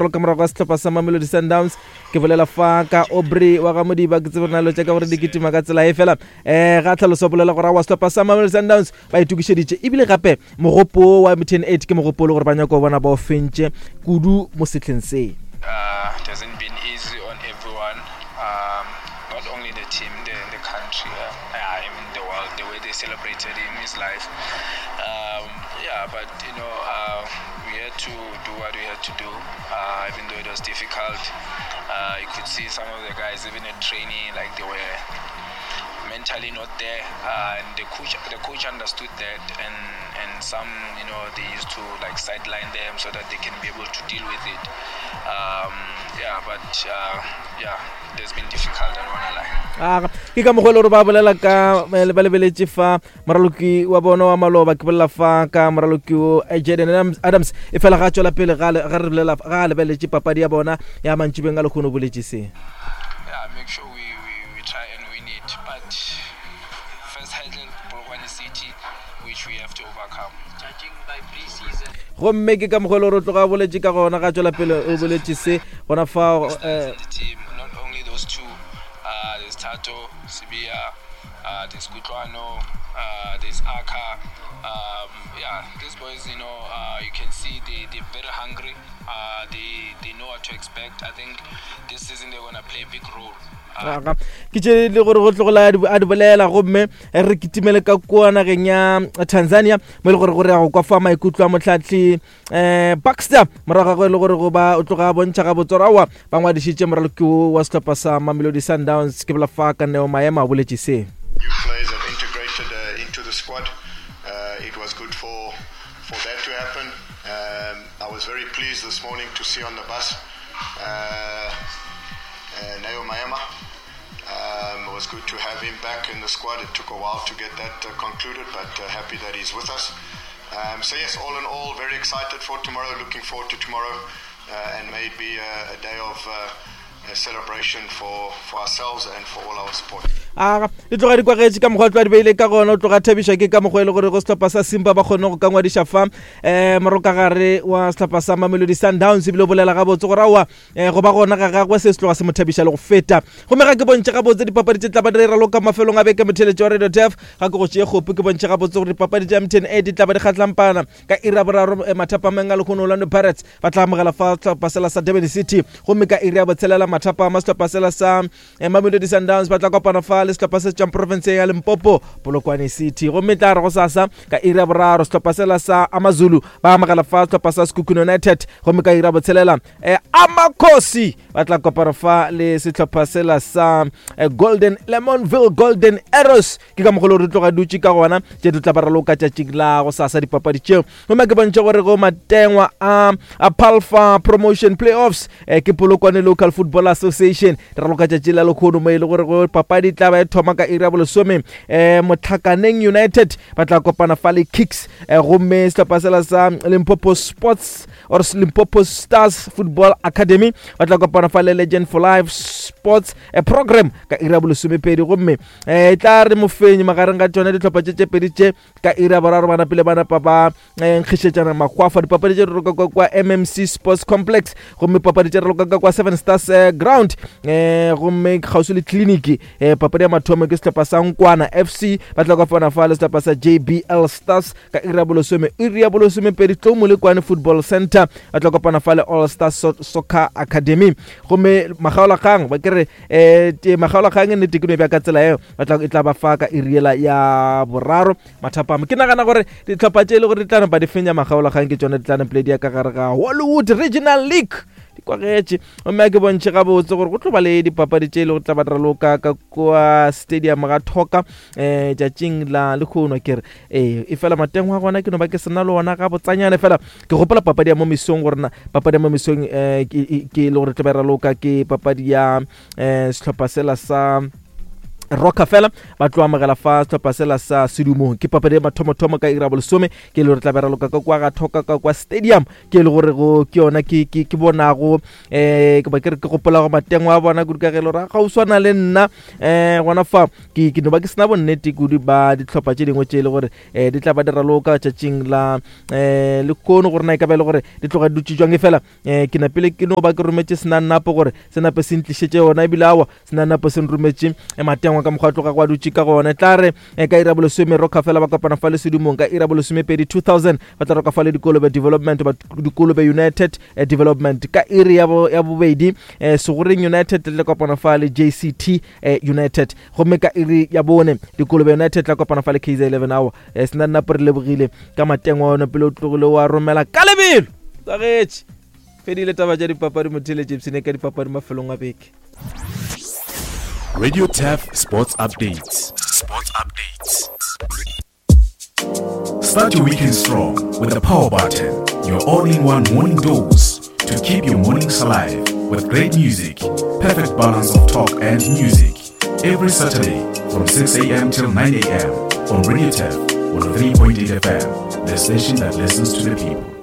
Ka morago ga sehlopha sa Mamelodi Sundowns ke bolela fa ka Aubrey wa ga Modiba ke tsebe nalo tša ka gore di kitima ka tsela e fela um ga tlhaloso bolela gore wa sehlopha sa Mamelodi Sundowns ba itokišeditše ebile gape mogopo wa MTN 8 ke mogopo le gore ba nyaka go bona ba o fentše kudu mo sehleng se. Uh, it hasn't been easy on everyone, um, not only the team, the, the country, uh, even the world, the way they celebrated him, his life. Um, yeah, but you know, uh, we had to do what we had to do, uh, even though it was difficult. Uh, you could see some of the guys, even at training, like they were mentally not there, uh, and the coach, the coach understood that, and and some, you know, they used to like sideline them so that they can be able to deal with it. Um, yeah, but uh, yeah, it has been difficult. I don't wanna lie. Ah, ke ka mokgwa e le gore ba bolela ka eh, ba lebeletše fa moraloki wa bona wa maloba ke bolela fa ka moraloki o eh, Jaden Adams e fela ga tšwela pele ga ga re bolela ga a lebeletše papadi ya bona ya mantšibeng a lekgono boletše se Yeah, make sure we, we, we try and win it. But first hurdle, Polokwane City, which we have to overcome. Judging by pre-season. Gomme ke ka mokgwa e le gore o tloga a boletše ka gona ga tšwela pele o boletše se gona fao eh, The team, not only those two, uh, there's Tato, Sibia, uh, there's Kutlwano, uh, there's Aka. Um, yeah, these boys, you know, uh, you can see they, they're very hungry. Uh, they, they know what to expect. I think this season they're going to play a big role. Aga ke tše le gore go tlogola a di bolela gomme re kitimele ka kua nageng ya Tanzania mo e le gore gore ya go kwa fa maikutlo a motlhatli um Baxter morago ga go e le gore go ba o tloga a bontšha gabotse gore aowa ba ngwadišitše moraloki wo wa sehlopha sa Mamelodi Sundowns ke bola fa ka Neo Maema o boletše se. New players have integrated uh, into the squad. Uh, it was good for, for that to happen. Um, I was very pleased this morning to see on the bus uh, uh, Neo Maema. Um, it was good to have him back in the squad. It took a while to get that uh, concluded, but uh, happy that he's with us. Um, so yes, all in all, very excited for tomorrow. Looking forward to tomorrow, uh, and may it be a, a day of uh, a celebration for, for ourselves and for all our supporters. a di tloga di kwagetše ka mokgwa tloga di beile ka gona o tloga thabiša ke ka mokgwa e le gore go sehlopha sa simba ba kgone go ka ngwadiša fa um eh, morokagare wa sehlopha sa mamelodi sundowns ebile o bolela gabotse gore aowa um go ba gona ga gagwe se se tloga se mo thabiša le go feta gomme ga ke bontšhe gabotse dipapadi tše tla ba di raloka mafelong a beke motheletši wa radio tef ga ke go tšee kgopo ke bontšhe gabotse gore dipapadi tša mtn a di tla ba di kgatlampana ka iri ya boraro eh, mathapameng a lekgono orlando pirates ba tla amogela fa sehlopha sela sa durban city gomme ka iri ya botshelela mathapama sehlopha sela sa eh, mamelodi sundowns ba tla kopana fa le sehlopha se tšwang profenseng ya limpopo polokwane city gomme tla re go sasa ka iri ya boraro sehlopha sela sa amazulu ba amogela fa sehlopha sa sekhukhune united gomme ka iri ya botshelela eh, amakhosi ba tla kopana fa le sehlopha sela sa eh, golden lemonville golden arrows ke ka mogolo re tloga dutše ka gona tše di tla ba raloka tšatšing la go sasa dipapadi tšeo gomme ke bontšhe gore go matengwa a a palfa promotion playoffs eh, ke polokwane local football association di raloka tšatši la lekgono mo e le gore go papadi tla ba e thoma ka iri ya bolesome eh, motlhakaneng united ba tla kopana fa le kicks eh, gomme sehlopha sela sa limpopo sports or limpopo stars football academy ba tla kopana fa le legend for life sports eh, program ka iri ya bolesomepedi gomme eh, e tla re mofenyi magareng ga tšona dihlopha tše tše pedi tše ka iri ya boraro ba napile ba napa ba eh, nkgišetšana makgwafa dipapadi tše di roka kwa kwa mmc sports complex gomme papadi tše raloka ka kwa seven stars eh, ground eh, gomme kgauswi le tleliniki eh, papadi ya mathomo ke sehlopha sa nkwana fc ba tla kopana fa le sehlopha sa jbl stars ka iri ya bolesome iri ya bolesomepedi tlou molekwane football center ba tla kopana fa le all star so soccer academy gomme magaolakgang ba kere um magaolakgang e nnete ke no bja ka tsela eo ba tla e tla ba fa ka iriela ya boraro mathapama ke nagana gore ditlhopha tše e le gore di tla napa di fenya magaolakgang ke tšone di tla napile di ya ka gare ga hollywood regional league di kwagetše gomme a ke bontšhe gabotse gore go tlo ba le dipapadi tše e le go tla ba raloka ka kua stadium ga thoka um tšatšing la lekgono ke re ee e fela mateng wa gona ke no ba ke sena le ona ga botsanyane fela ke gopola papadi ya mo mesong gore na papadi ya mo mesong um ke e le gore tlo ba raloka ke papadi ya um sehlopha sela sa Rockefeller ba tlo amogela fa sehlopha sela sa Sedumong. Ke papadi ya mathomothomo ka iri ya bolesome, ke e le gore tla be raloka ka kwa ga Thoka ka kwa stadium, ke e le gore go ke yona ke ke ke bonago eh ke ba ke re ke gopola go matengwa a bona kudu ka ge e le gore ga o swana le nna eh gona fa ke ke no ba ke sena bonnete kudu ba dihlopha tše dingwe tše e le gore eh di tla ba di raloka tšatšing la eh lekono gore na e ka ba e le gore di tloga di dutše jwang e fela eh ke napile ke no ba ke rometše senanapo gore se nape se ntlišetše yona ebile awa senanapo se nrometše eh, matengwa ka mokgwa tloga go a dutše ka gona tla re eh, ka ira bolesome roka fela ba kopana fa le sedumong ka ira bolesomepedi 2000 ba tla roka fa le dikolobe development ba dikolobe united eh, development ka iri ya bobedi segoreng united le kopana fa le jct united gomme ka iri ya bone dikolobe united tla kopana fa le kz 11 hour eh, senanapo re lebogile ka matengwa ona pele o tlogile wa romela ka lebelo tsagetše fedile taba tša dipapadi motheletše ipshine ka dipapadi mafelong a beke. Radio Turf Sports Updates. Sports Updates. Start your weekend strong with the Power Button, your all-in-one morning dose to keep your mornings alive with great music, perfect balance of talk and music. Every Saturday from 6 a.m. till 9 a.m. on Radio Turf 103.8 FM, the station that listens to the people.